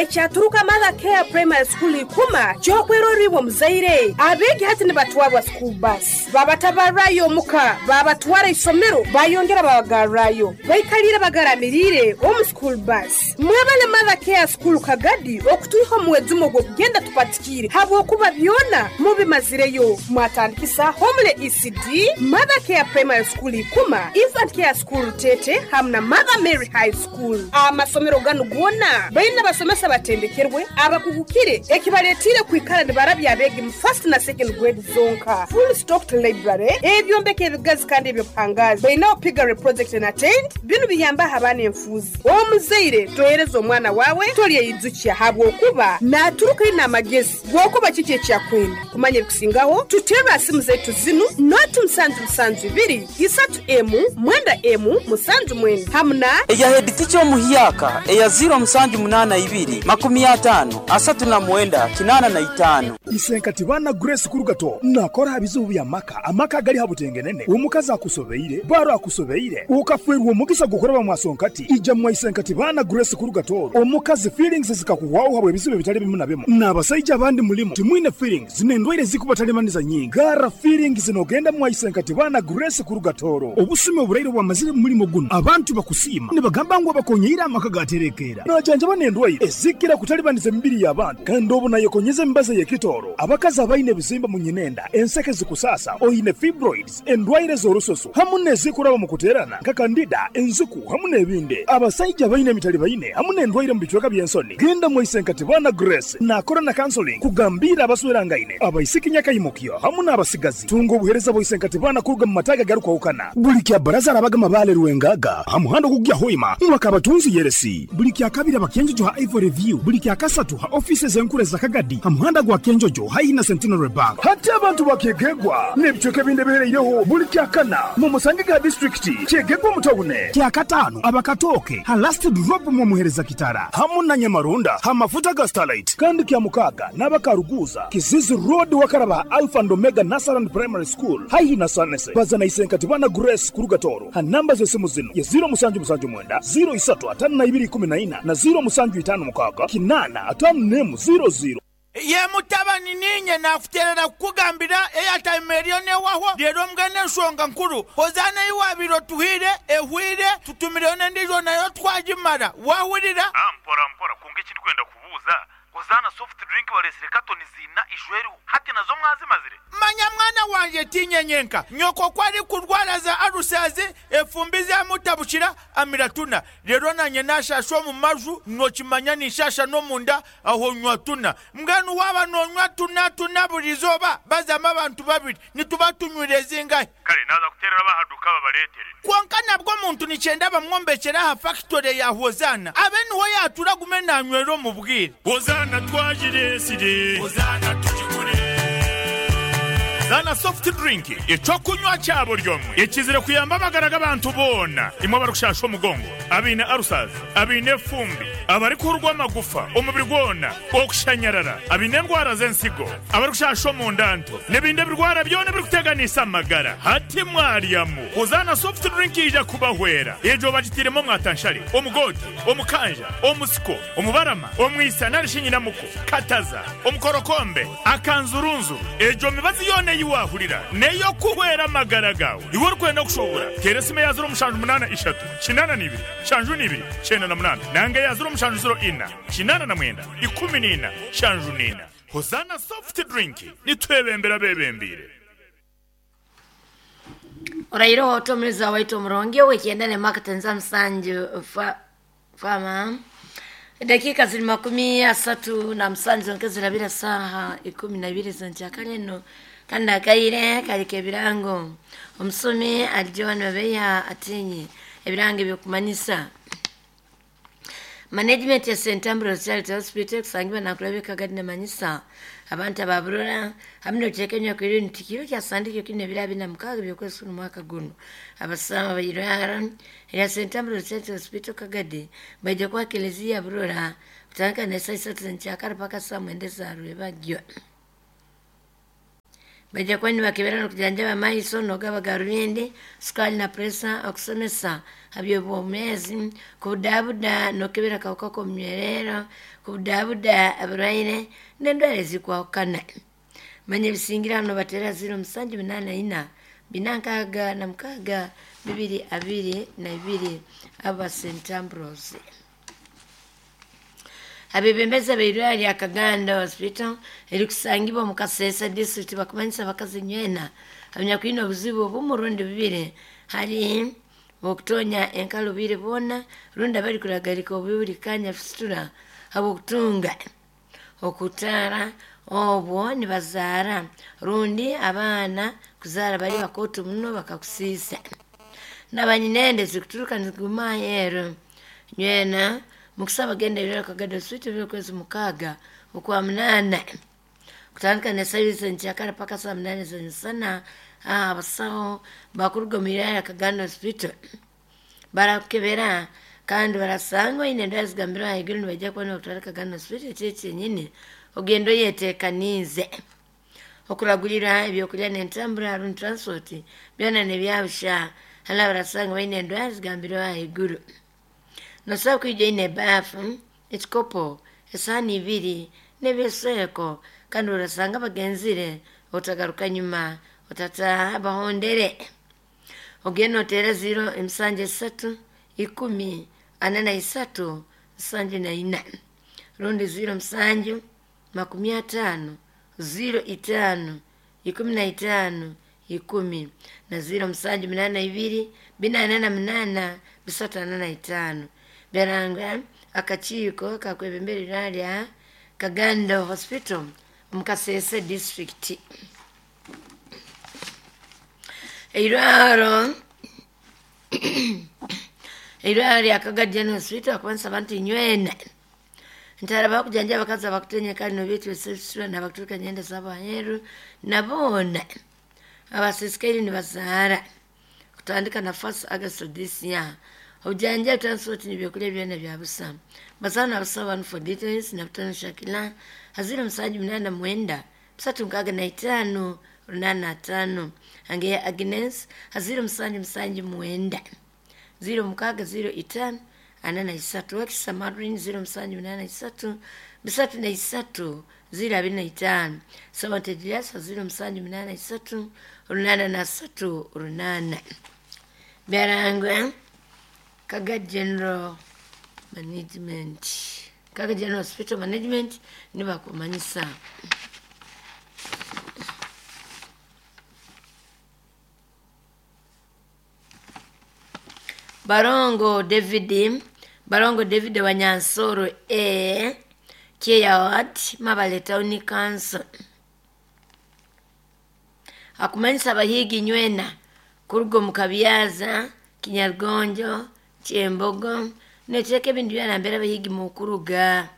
Ekyaturuka Mother Care Primary School Ikuma ky'okwerora iwe omuzaire. Abeegi hati nibatwarwa school bus. Babatabarrayo omuka, babatwara isomero, bayongera babagarrayo. Baikalire bagaramiriire omu school bus. Mwebale Mother Care School Kagadi okutwiha omu mwejumo gw'okugenda tupatikiire habwokuba byona mubimazireyo. Mwatandikisa Homely ECD, Mother Care Primary School Ikuma, Infant Care School Rutete hamu na Mother Mary High School. Amasomero ganu goona baine abasomesa abatendekerwe abakugukire ekibaletiire kwikara nibarabya abeegi mu first na second grade zonka. Full stocked library, ebyombeko ebigazi kandi eby'obuhangaazi. Bainaho piggery project and attained. Binu biyambaho abaana enfuuzi. Omuzaire tohereza omwana waawe tolyeyijukya habwokuba naaturuka aine amagezi g'okuba kiki eki akwenda. Kumanya ebikusingaho tuterre ha simu zaitu zinu noti musanju musanju ibiri isatu emu mwenda emu musanju mwenda hamu na. Eya headteacher omuhyaka eya ziro musanju munaana ibiri makumi ataano asatu na mwenda kinaana na itaano. Isenkati baana Grace Kurugato nakora aha bizibu by'amaka, amaka agali ha butengenene, omukazi akusobeire, baro akusobeire, okafwerwa omugisa gw'okuraba mwasonkati, ija mwa Isenkati baana Grace Kurugato, omukazi feelings zikakuhwaho habwa ebizibu ebitali bimu na bimu, n'abasaija abandi mulimu timwine feelings n'endwaire zikubatalibaniza nyingi. Gara feelings n'ogenda mwa Isenkati baana Grace Kurugatoro. Obusumi oburaire bwamazire mu mulimo guno, abantu bakusiima nibagamba ngu abakonyeire amaka gaterekeera. Najanjaba n'endwaire ezikira kutalibaniza emibiri y'abantu, kandi obu nayekonyeza emibazi ey'ekitooro. Abakazi abaine ebizimba mu nyinenda, enseke zikusasa, oine fibroids, endwaire z'orususu hamu n'ezikuraba mu kuteerana nka kandida, enziku hamu n'ebindi. Abasaija abaine emitalibaine hamu n'endwaire mu bicweka by'ensoni, genda mwa Isenkati baana Grace nakora na counseling kugambira abaswerangaine, abaisiki nyakaimukyo hamu n'abasigazi. Tunga obuheereza bwa Isenkati baana kuruga mu mataaga agarukwahukana. Buli kya baraza arabaga Mabale Rwengaga ha muhanda ogukugya Hoima mwaka abatunzi Yeresi. Buli kya kabiri abakenjojo ha Ivory View. Buli kya kasatu ha office z'enkuru eza Kagadi ha muhanda gwa Kenjojo haihi na Centenary Bank. Hati abantu bakyegegwa n'ebicweka ebindi ebihereireho. Buli kya kana mu musange ga disitulikiti kyegegwa omu tawune. Kya kataano abakatooke ha Last Drop mu Omuhereza Kitara hamu na Nyamarunda ha mafuta ga Starlight. Kandi kya mukaaga n'abakaruguuza Kizizi Road wakaraba ha Alpha and Omega Nursery and Primary School haihi na Sanese. Baza na Isenkati bana Grace kuruga Tooro ha namba z'esimu zinu ye ziro musanju musanju mwenda, ziro isatu ataano na ibiri ikumi na ina na ziro musanju itaano mukaaga kinaana ataano n'emu ziro ziro. Ye mutabani niinye naakuteerera kukugambira airtime eriyo neehwaho reero mbwenu enshonga nkuru Hozaana ei waabaire otuhaire ehweire tutumireyo n'endiijo nayo twagimara waahurira? Mpora mpora kwonka eki ndikwenda kubuuza Hozaana soft drink bareetsire katoni ziina ijo eriho hati nazo mwazimazire? Manya mwana wangye tiinye nyenka, nyoko ku arikurwara za alusazi, efumbi zamutabukira, amira tuna. Reero naanye naashaasha omu maju, nookimanya ninshaasha n'omunda, aho nywa tuna. Mbwenu waaba noonywa tuna tuna buri izooba, bazamu abantu babiri, nituba tunywire zingahi? Kare naaza kuteerera ab'aha duuka babareetere. Kwonka nabwo omuntu nikyenda bamwombekyere aha fakitore ya Hozaana, abe niho yaatura agume naanywera omu bwire. Hozaana twagireetsire. Hozaana tugigure. Zaana soft drink, eky'okunywa kya buri omwe ekizire kuyamba amagara g'abantu boona. Imwe abarikushasha omugongo, abaine ulcers, abaine efumbi, abarikuhurwa amagufa omubiri gwona, okushanyarara, abaine endwara z'ensigo, abarikushasha omunda nto, n'ebindi ebirwara byona ebirikuteganisa amagara. Hati mwaryamu. Hozaana soft drink yaija kubahwera. Egyo bagitairemu omwatanshare, omugoote, omukanja, omusiko, omubarama, omwisa nari shi nyinamuko, kataza, omukorokombe, akanzurunzuru. Egyo mibazi yoona ei waahurira n'ey'okuhwera amagara gaawe. Iwe orikwenda kushoobora, teera esimu eya ziro mushanju munaana ishatu, kinaana na ibiri, nshanju na ibiri, kyenda na munaana nanga eya ziro mushanju ziro ina, kinaana na mwenda, ikumi na ina, nshanju na ina. Hozaana Soft Drink, nitwebembera abeebembeire. Oraire ota omuliza waitu omurungi ow'ekyenda ne Mark Musanju fa fama dakika ziri 37 zonka zirabira saha 12 z'enkyakare eno kandi akaire karika ebirango omusomi ali Joan Babeya atinye ebirango ebyokumanyisa Management ya St. Ambrose Charity Hospital kusangibwa nakulabika gadi namanyisa abantu ababurora hamwe n'okuteeka kwiri nti kiro kyasandikyo kine ebiro 46 by'okwezi kuno mwaka guno abasama bairwara ya St. Ambrose Charity Hospital Kagadi baija kwa kelezia burora kutandika ne saa 3 z'enkyakare paka saa 9 za rwebagyo. Bajja kuba nibakebera n'okujanjaba amaiso n'ogaba garubindi, sukali na presa, okusomesa habyobwomeezi, kubudabuda n'okebera akawuka k'omunywerero, kubudabuda abarwaire n'endwara ezikwahukana. Manya ebisingira hano batera 0784 466 222 aba St. Ambrose. Abebembezi abeirwaro lya Kaganda Hospital erikusangibwa omu Kasese district bakumanyisa abakazi nywena abanyakwine obuzibu obumu rundi bubiri hari okutonya enkalo bwire bwona rundi abari kuragarika obubi buri kanya fistula habw'okutunga okutaara obwo nibazaara rundi abaana kuzaara bari bakooto muno bakakusiisa n'abanyinende zikuturuka niziguma aheeru nywena mukusaba genda ebiraro Kaganda Hospital biri okwezi 6 okwa 8 kutandika n'esaaha enkyakara paka saa 8 z'emisana. Abasaho bakuruga omu iraro lya Kaganda Hospital barakukebera kandi barasanga oine endwara zigambirwe ahaiguru nibaija kuba nibakutwara Kaganda Hospital ekiro kyenyini ogenda oyeteekaniize. Okuragurira ebyokurya n'entambura rundi transport byona nebyabusha hali abarasanga baine endwara zigambirwe ahaiguru. Nosobola kwija oine ebaafu, ekikopo, esaani 2 n'ebyesweko kandi orasanga bagenzire otagaruka nyuma otataaha bahondere. Ogenda oteera 073 10 43 74 rundi 07 50 05 15 10 na 0782 448 345. Byaranga akakiiko kakwebembera iraro lya Kaganda Hospital omu Kasese district. Eirwaro lya Kagadi General Hospital akubanisa abantu nywena ntara bakujanja abakazi abakutenya kandi nobyetwesesura nabakuturuka nyenda z'abaheru naboona abasisikaire nibazaara kutandika na 1 August this year. Obujanja transport n'ebyokurya byona bya busa. Bazaana n'abasawo banu for details na butano Shakila 0789 365 85 Angeya Agnes 0779 0605 43 Wakisa Madrin 0783 303 025 Sawante Julius 0783 838 8. Byarangwa Kaga General Management, Kaga General Hospital Management nibakumanyisa. Barongo David Wanyansoro A Keya Ward Mabale Town Council akumanyisa abahigi nywena kuruga omu Kabyaza, Kinyargonjo, Kyembogo nekyeka ebintu byona mbere abahigi mukuruga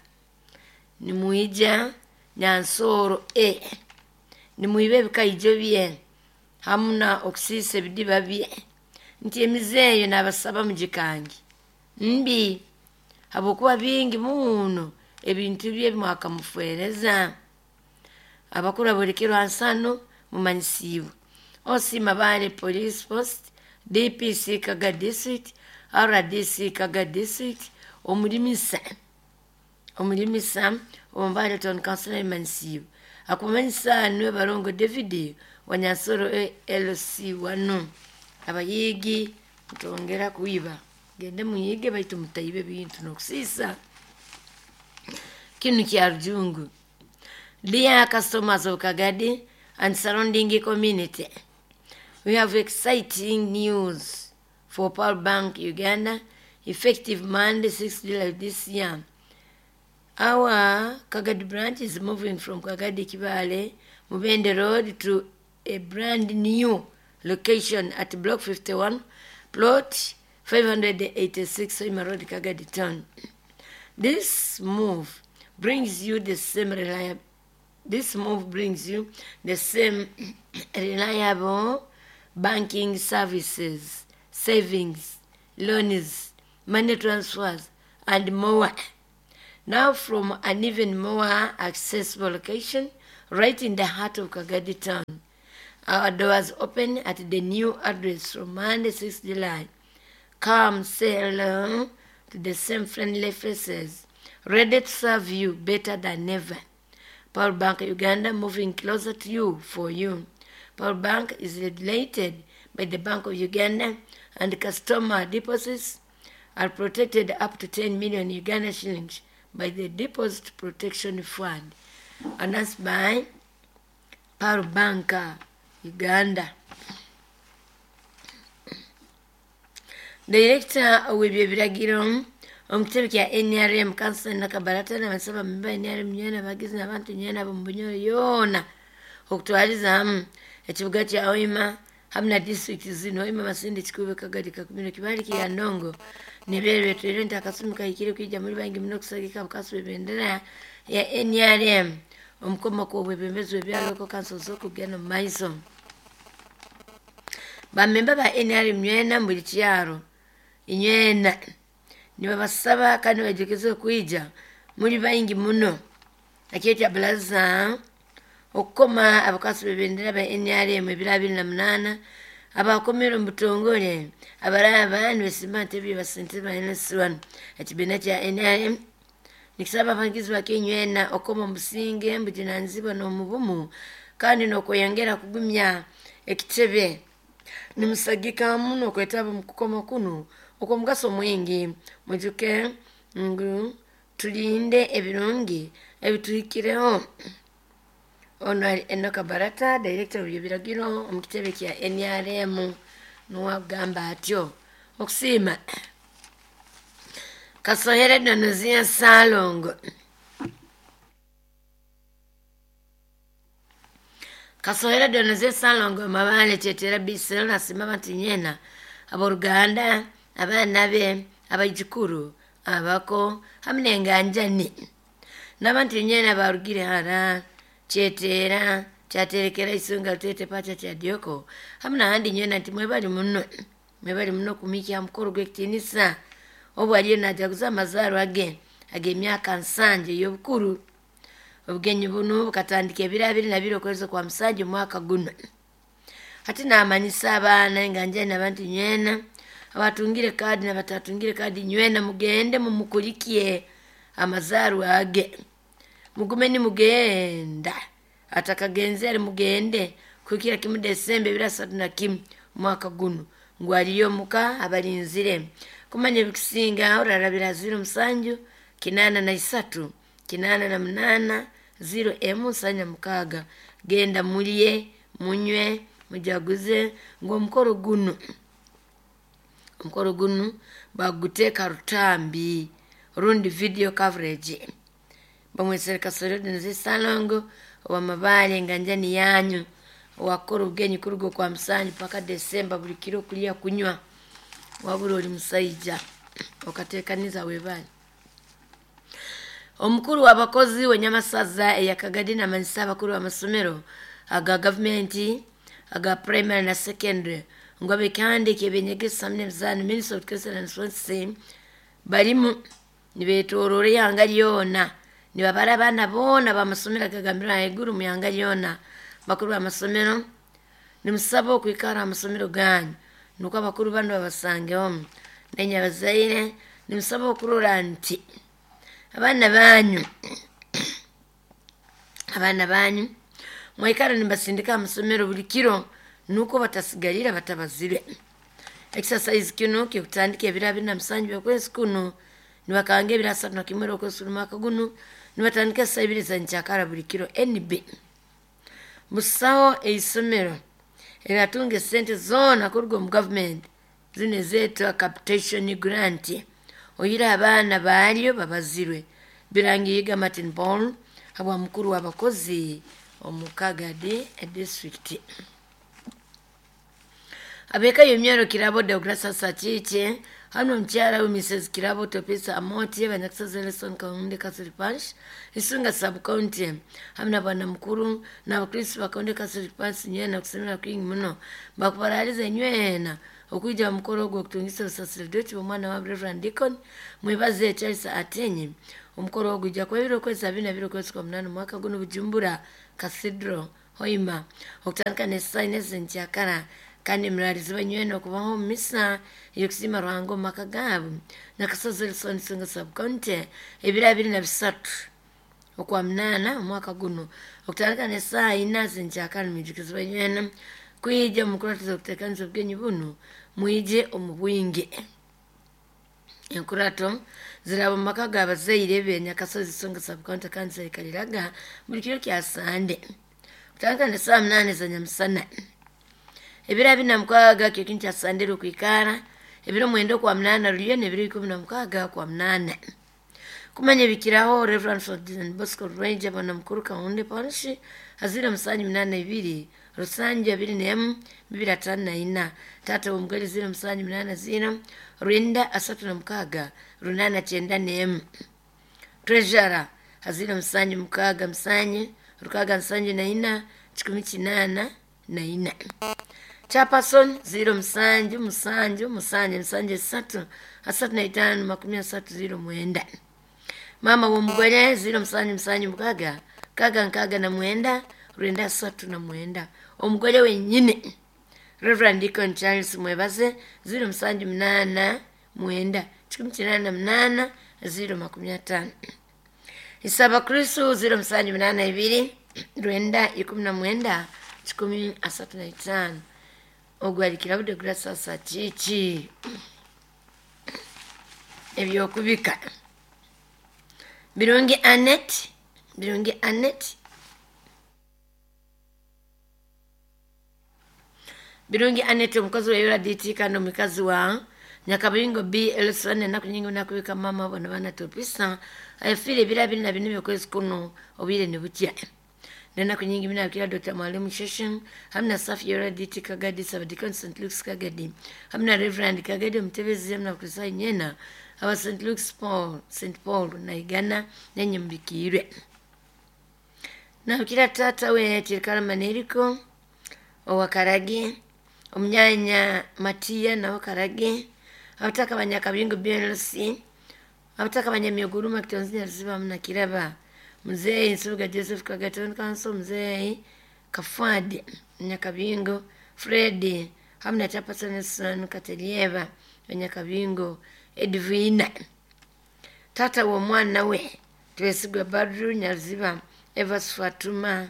nimwija Nyansoro A nimwiba ebikaijo bye hamuna okusiisa ebidiba bye nti emizeeyo n'abasaba mugikangi mbi habwokuba bingi muno ebintu bye mwakamufereza. Abakuru abolekerwa nsano mumanyisiibwe OC Mabale Police Post, DPC Kaga District, RDC Kaga District, omulimisa Omumbale Town Council emanyisiibwe akumanyisa niwe Barongo David Wanyansoro LC 1. Abayigi mutongera kuiba gende muyige baitu mutaibe bintu n'okusiisa kinu kya rujungu. Dear customers of Kagadi and surrounding community, we have exciting news for Pearl Bank Uganda, effective Monday 6 July this year. Our Kagadi branch is moving from Kagadi Kibale, Mubende Road to a brand new location at Block 51, Plot 586, Hoima Road, Kagadi Town. This move brings you the same reliable banking services, savings, loans, money transfers, and more. Now from an even more accessible location, right in the heart of Kagadi Town. Our doors open at the new address from Monday 6 July. Come say hello to the same friendly faces, ready to serve you better than ever. Power Bank Uganda, moving closer to you for you. Power Bank is regulated by the Bank of Uganda, and customer deposits are protected up to 10 million Uganda shillings by the Deposit Protection Fund. Announced by Power Bank Uganda. Director w'ebyebiragiro omu kitebe kya NRM Kansa Nakabarata n'abasaba memba NRM nywena abagizi n'abantu nywena ab'omu Bunyoro yoona okutwaliza hamu ekibuga kya Hoima hamu na disitulikiti zino Hoima, Masindi, Kikuube, Kagadi, Kakumiro, Kibaale, Kiryandongo n'ebyeru byetwire nti akasumi kahikire kwija muri bangi muno okusagika abakazi b'ebendera ya NRM omukomoko obwebembezi bw'ebyalo oko kanso z'okugenda omu maiso. Bamemba ba NRM nywena mu buli kyaro inywena nibabasaba kandi bajukeze okwija muri baingi muno akyetya bulaza okukoma abakasi b'ebendera ba NRM ebiro 28 abakomere omu butongole abaraba nibesimba ntebe basente ba NS1. Ekibiina kya NRM nikisaba abagizi bakenywena okoma omusinge mbujunanizibwa n'omubumu kandi n'okweyongera kugumya ekitebe. Nimusagika muno okwetaba omu kukoma kuno okw'omugaso mwingi. Mwijuke ngu tulinde ebirungi ebituhikireho. Ono ali Enoka Barata, director w'ebiragiro omu kitebe kya NRM, nuwagamba atyo. Okusiima Kasohere Donozia Salongo. Kasohere Donozia Salongo Mabale Kyetera Bisero nasima abantu nyena abooluganda, abaana be, abaijukuru, abako hamu n'enganjani n'abantu nyena barugire hara Kyetera kyaterekera isunga lutete pacha kya Dioko hamu n'ahandi nywena nti mwebali muno, mwebali muno kumikya mukoro gw'ekitinisa obu aliyo najaguza amazaarwa ge ag'emyaka 70 ey'obukuru. Obugenyi bunu bukatandika ebiro 22 okwezi kwa 7 omwaka guno. Hati namanyisa abaana enganjani n'abantu nywena abatungire kaadi n'abatatungire kaadi nywena mugende mumukulikie amazaarwa ge. Mugume nimugenda atakagenzere mugende kuhikira kimu Desemba 31 omwaka guno ngu aliyo muka abalinzire. Kumanya ebikusinga orarabira 07 83 88 0 M 76. Genda mulye, munywe, mujaguze ngu omukoro guno baguteeka rutambi rundi video coverage. Bamwesere Kasore Donozia Salongo wa Mabale enganjani yanyu wakora obugenyi kuruga kwa 7 paka Desemba buli kiro kulya kunywa wabura oli musaija okateekaniza webale. Omukuru w'abakozi w'enyamasaza eya Kagadi namanyisa abakuru b'amasomero aga gavumenti aga primary na secondary ngu abekihandiiko ebyenyegesa hamwe n'emizaano Ministry of Education and Sports barimu nibeetooroora ihanga ryona nibabara abaana boona b'amasomero agagambirwe ahaiguru mu ihanga ryona. Bakuru b'amasomero nimusaba okwikara aha masomero ganyu nukwo abakuru banu babasangeho. Nainye abazaire nimusaba okurora nti abaana banyu mwaikara nibasindika aha masomero buli kiro nukwo batasigarira batabazire. Exercise kino kikutandika ebiro 27 by'okwezi kuno nibakanga ebiro 31 okwezi mwaka guno nibatandika saa 2 za nkyakara buli kiro. NB busaho eisomero eriratunga esente zoona kuruga omu gavumenti zino ezeetwa capitation grant oyire abaana baryo babazirwe. Birangiyiga Martin Paul habwa mukuru w'abakozi omu Kagadi district. Abeka y'emyaro Kirabo Deogratias Sachiche Hano omukyala we Mrs. Kirabo Topesa Amoti abanyakusozi Nelson Kaunde Catholic Parish Isunga Sub County hamwe na bwana mukuru n'abakristo ba Kaunde Catholic Parish nywena kusemera kwingi muno bakubaraliza nywena okuija mukoro ogwo okutungisa obusaseredoti bw'omwana wa Reverend Deacon Mwebaze Charles Atenyi. Omukoro ogwo gujja kuba ebiro kwezi 22 kwezi kwa 8 mwaka guno Bujumbura Cathedral Hoima okutandika n'essaawa ez'enkyakara. Kandi muralizibwa nywena okubaho omu misa ey'okusiima Ruhanga omu maka gaabo Nakasozi Elson Isunga Sub County ebiro 23 okwa 8 omwaka guno okutandika n'essaawa 4 z'enkyakara. Nimwijukizibwa nywena kwija omu nkuratizo okuteekaniza obugenyi buno mwije omu bwingi. Enkurato ziraba omu maka g'abazaire be Nyakasozi Isunga Sub County kandi zaikaliraga buli kiro kya Sande kutandika n'essaawa 8 za nyamusana. Ebiro 26 kyo kintu kya Sande okwikara ebiro 9 kwa 8 ruliyo n'ebiro 16 kwa 8. Kumanya ebikiraho Reverend Ferdinand Bosco Ranger bwana mukuru Kaunde Parish azira 782 Rusange 21 254 tata w'omugole 0780 Rwenda 36 891 Treasurer azira 76 674 884 Chairperson 0 7 7 7 3 35 30 09. Mama w'omugole 0 7 7 6 6 9 Rwenda 39. Omugole wenyine Reverend Deacon Charles Mwebaze 0 7 8 9 8 0 50. Isaba Kristo 0 7 8 2 Rwenda 19 35. Ogwalikira bude grasa chichi ebyokubika Birungi Anet, Birungi Anet, Birungi Anet omukozi wa URDT kandi omukazi wa Nyakabingo B Elson enaku nyingi nakubika mama bona bana topisa ayafire ebiro 24 by'okwezi kuno obwire nibukya. Nenaku nyingi minabikira Dr. Mwalimu Sheshen hamwe na Safi URDT Kagadi Sabadikon St. Luke's Kagadi hamwe na Reverend Kagadi omutebezi hamwe na Kristo nyena aba St. Luke's Paul St. Paul na Igana nenye. Nabikira tata we Tirikara Maneriko owa Karage omunyanya Matiya nawe Karage abataka banyakabingo BLC abataka banyamyoguruma kitonzi ziba mna kiraba Mzee Nsubuga Joseph Kagaton Council Mzee Kafadi Nyakabingo Fred hamwe na Chairperson Son Katelieva Nyakabingo Edwina tata w'omwana we Twesigwa Badru Nyaziba Evas Fatuma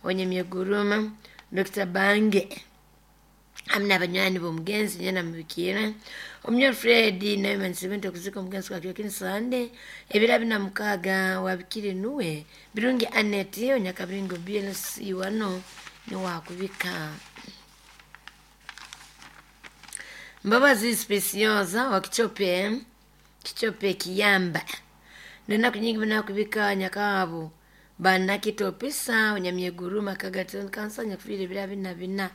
Onyemyeguruma Dr. Bange hamwe n'abanywani b'omugenzi nyena mubikira Omunyoro Fred nawe manisebente okuzika omugenzi kwa kyo Sande ebiro 46 wabikire nuwe Birungi Anet Onyakabingo BLC wano ni wakubika. Mbabazi Specioza wa Kichope Kichope Kiyamba nenaku nyingi binakubika nyakabo banakitopisa Onyamyeguruma Kagaton Kansa nyakufire ebiro 24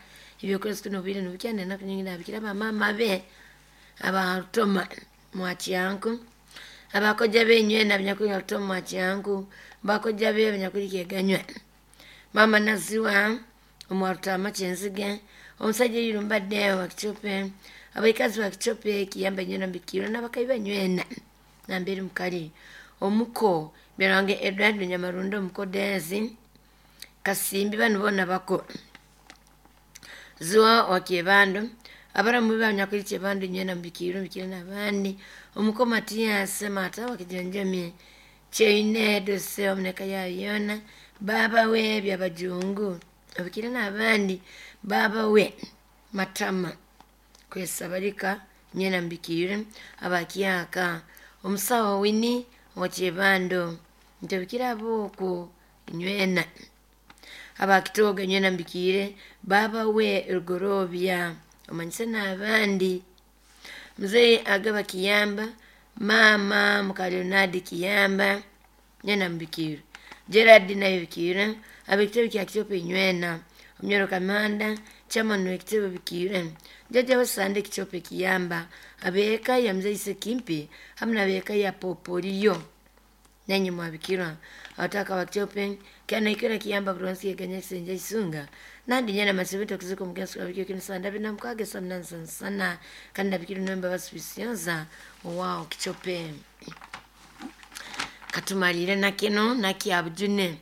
ebyokwezi kuno obwire nibukya. Nenaku nyingi nabikira bamama be abarutoma mwakyanku abakoja benywena binyakulya rutoma mwakyanku bakoja be binyakulikeganywa mama naziwa omwarutama kyenzige omusajja yurumbadde wa Kichope abaikazi wa Kichope Kiyamba nywena mbikiro n'abakaiba nywena nambere mukali omuko Birange Edward Nyamarundo omukodezi Kasimbi bano bona bako Zuwa wa Kyebando abaramu banyakuliche Kyebando nywena mbikiro mbikiro n'abandi omuko Matias Mata wa Kijanjami Cheine dose omuneka ya yona baba we byabajungu abikira n'abandi baba we Matama kwesabalika nyena mbikire abakyaka omusawo Wini wa Kyebando ntebikira aboko nywena abakitoga nywena mbikire baba we Rugorobya omanyise n'abandi Mzee Agaba Kiyamba mama Mukalionadi Kiyamba nyena mbikire Gerard nayo bikire abekitebe kya Kichope nywena Omnyoro Kamanda Chairman w'ekitebe Bikiire, Jjajja we Sande Kichope Kiyamba, abeeka ya Mzeise Kimpi hamu n'abeeka ya Popoliyo nanyi mwabikirwa abataka wa Kichope kyanaikira Kiyamba Buronsi yeganya kisenja isunga nandi nyana masibito kuziko mugensi wa bikio kinisanda bina mukage samna sana kandi nabikiri nomba basibisyoza wao Kichope katumalire nakino nakyabujune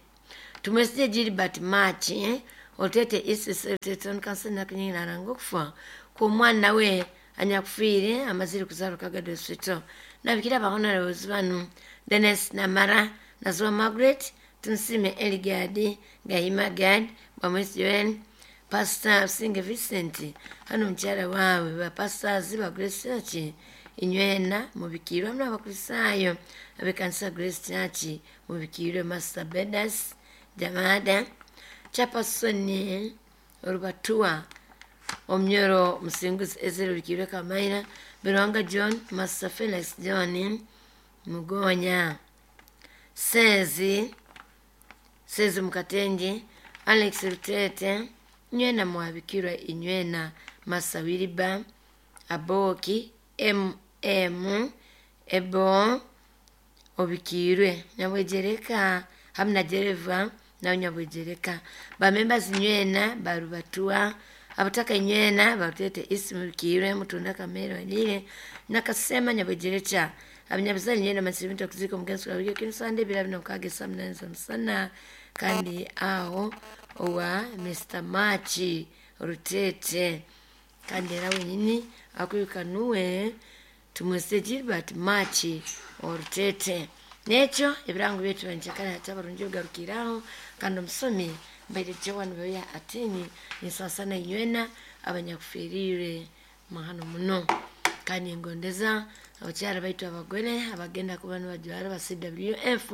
tumwesije Gilbert Machi otete isese otete kansena kunyina ngokufa ku mwana we anyakufiire amazire kuzarwa Kagado Hospital nabikira bahonorables banu Dennis Namara Nazwa Margaret Tunsime Eligadi Gahima Gad Bamwesi Joel Pastor Singe Vincent hano mukyala waabwe ba pastors ba Grace Church inywena mubikirwa mna abakristayo abekanisa Grace Church mubikirwe Master Bedas Jamada Chapasoni Orubatua Omnyoro Musinguzi Ezra Bikirwe Kamaina Birwanga John Master Felix John Mugonya Sezi Sezi Mukatenje Alex Rutete nywena mwabikirwa inywena Masawiriba Aboki MM Ebo obikirwe nyabwejereka hamna jereva na nyabwejereka ba members nywena barubatua abataka nywena barutete isimu bikirwe mutunda kamero lile nakasema nyabwejerecha abanyabuzali nywena masibinto kuziko mugenzi wa wiki kinsande bila bino kage samnanza msana kandi aho owa Mr. Machi Rutete kandi era wenyini akwirukanuwe tumwese Gilbert Machi Orutete nekyo ebirango byetu banjakala hatabarungi ogarukiraho kandi omusomi mbaire Joan Beya atini nisasana inywena abanyakufirire mahano muno kandi ngondeza abakyala baitu abagore abagenda kuba nibajwara ba CWF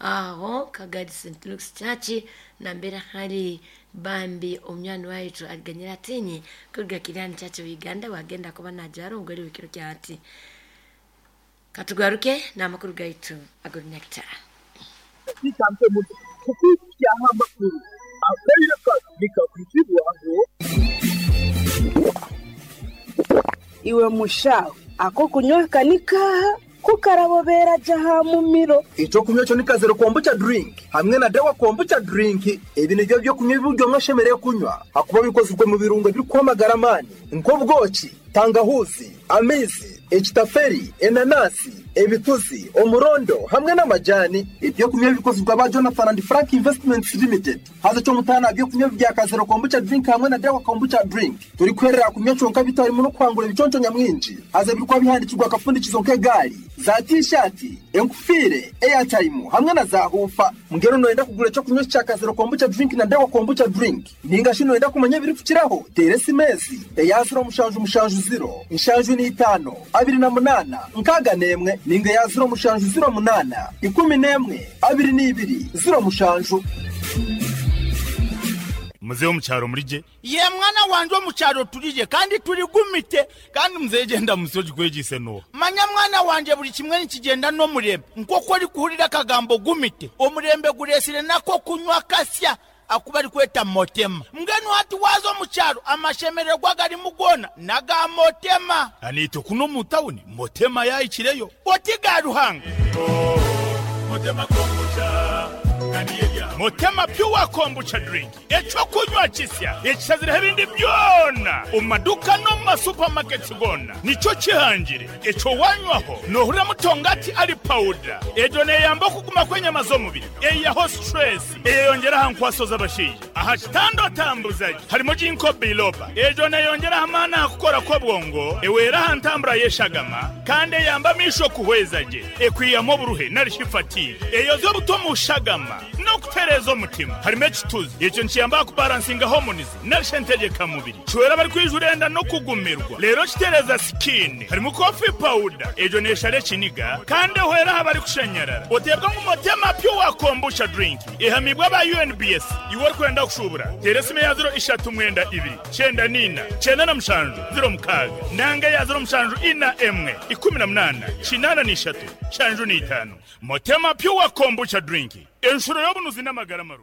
aho Kagadi St. Luke's Church nambera hari bambi omwana waitu aliganyira atinyi kuruga Kirani Church of Uganda wagenda kuba najwara omugore w'ekiro kyati katugaruke n'amakuru gaitu ag'orunyakitara. Iwe mushaho ako kunywa kanikaha kukarabobera jaha mumiro. Icyo kunywa cyo ni kazero kombucha drink hamwe na dawa kombucha drink. Ibi nibyo byo kunywa ibiryo mwashemereye kunywa hakuba bikozwe mu birungo biri kwamagara amani nk'ubwoki, tangahuzi, amizi, ekitaferi, enanasi, ebituzi, omurondo hamwe n'amajani. Ibyo kunywa bikozwe ba Jonathan and Frank Investments Limited. Haza cyo mutana byo kunywa bya kazero kombucha drink hamwe na dawa kombucha drink. Turi kwerera kunywa cyonka bitarimo no kwangura ibiconco nyamwinji. Haza birikwa bihandikirwa akafundikizo nk'egari za t-shirt, enkufire, airtime hamwe na za hufa. Mungero noenda kugura cyo kunywa cya kazero kombucha drink na dawa kombucha drink. Ninga shino enda kumanya biri kukiraho. Teresi mezi eya 0 mushanju mushanju 0 inshanju ni 5 28 nkaga nemwe ninga ya 0 mushanju 0 8 11 22 0 mushanju. Muzehe wo mucyaro muri je ye mwana wanje wo mucyaro turije kandi turi gumite kandi muzehe genda musoji kwegise no manya mwana wanje buri kimwe nikigenda no murembe nkoko ari kuhurira akagambo gumite omurembe guresire nako kunywa kasya akuba ari kweta motema mbwenu hati wazo mucyaro amashemererwa gari mugona naga motema anito kuno mu tawuni motema yayikireyo oti garuhanga motema kombucha Motema pure kombucha drink eco kunywa kisya ekisazira ebindi byona omumaduka no mu masupamaketi gona nico kihangire eco wanywaho nohurira mutongati ari powder ejo neyamba okuguma kw'enyama z'omubiri eyaho stress eyeyongeraho nkwaso z'abashaija aha kitando tambuzaji harimo jinko biloba ejo neyongeraho amaani aha kukora kw'obwongo eweraho ntambura y'eshagama kandi eyamba amisho kuhweza gye ekwiyamu oburuhe narishi fatigue eyoza obuto mu shagama no kutereza omutima harimo ekituzi ekyo nikiyamba kubalansinga hormones narisha entegeka mubiri kiwera bari kwijurenda no kugumirwa rero kitereza skin harimo coffee powder ejo neshara ekiniga kandi ehwera aha bari kushanyarara otebwa ngu motema pure kombucha drink ehamibwa aba UNBS iwe orikwenda kushubura tera esimu ya 0 3 9 2 94 97 06 nanga ya 0 7 4 1 18 83 75 motema pure kombucha drink enshuro y'obunuzi n'amagara maru.